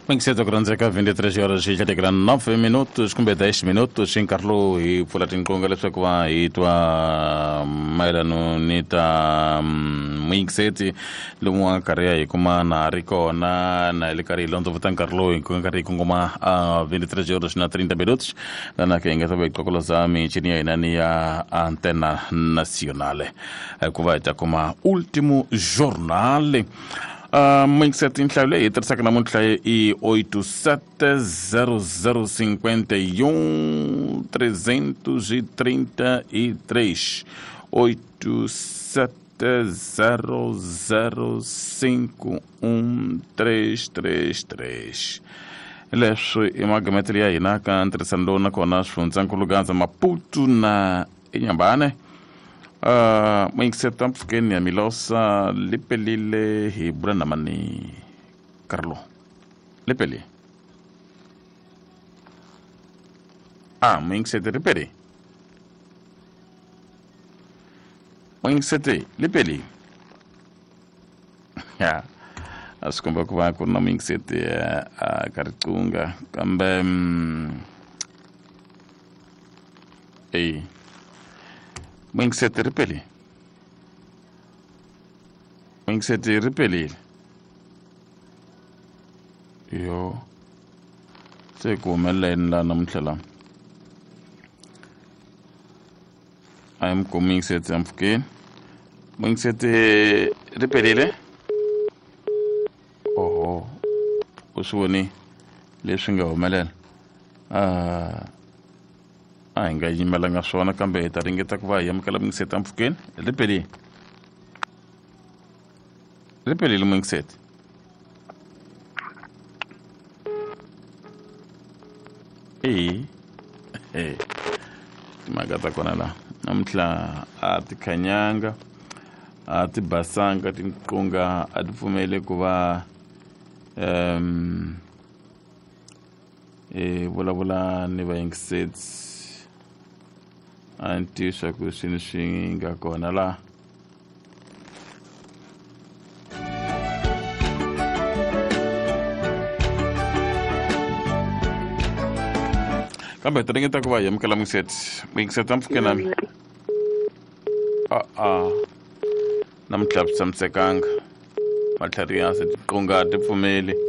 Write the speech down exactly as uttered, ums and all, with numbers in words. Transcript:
Mingiseta ku rhandzeka vinte e três horas e nove minutos kumbe dez minutos hi nkarhi lowu hi pfula tinqingho leswaku va hi twa mayelano ni ta muyingiseti lomu a karhi ya hi kuma na ha ri kona na hi le karhi hi londzovota nkarhi lowu hi karhi hi kongoma a vinte e três horas na trinta minutos lana ke hi nga ta va hi qokoloza michini ya hina ni ya Antena Nacional ku va hi ta kuma Último Jornal. Uh, Muyingiseti, nhlayo leyi hi tirhisaka namuntlha i oito sete zero zero cinquenta e um trezentos e trinta e três, oito sete zero zero cinco um três três três. Leswi i magametelo ya hina ka ntirhisano lowu nakona swifundzankulu Gaza, Maputo na Inhambane. Uh, muyingiseti, mpfhukeni ya Milosa lipelile hi bula na mani Carlo lipeli ah muyingiseti ripeli muyingiseti lipeli ya a swi komba ku va ku ri na muyingiseti a ka riqunga kambe mm, eyi muyingiseti ripeli muyingiseti ripelile yo se ku humelela yini laha namuntlha la a hi mi kumi muyingiseti empfhukeni muyingiseti ripelile oho u swi voni leswi nga humelela uh, a hi nga yimelanga swona kambe hi ta ringeta ku va hi amukela muyingiseti empfhukeni ripelile ripelile muyingiseti eyi timhaka ta kona laha namuntlha a ti khanyanga a ti basanga tinqunga a ti pfumeli ku va um hi vulavula ni vayingiseti a ni tivi swa ku swini swi nga kona laha kambe hi ta ringeta ku va hi amukela muyingiseti muyingiseti ampfhuke nami a a namuntlha swi tshamisekanga matlhari ya se tinqunga a ti pfumeli.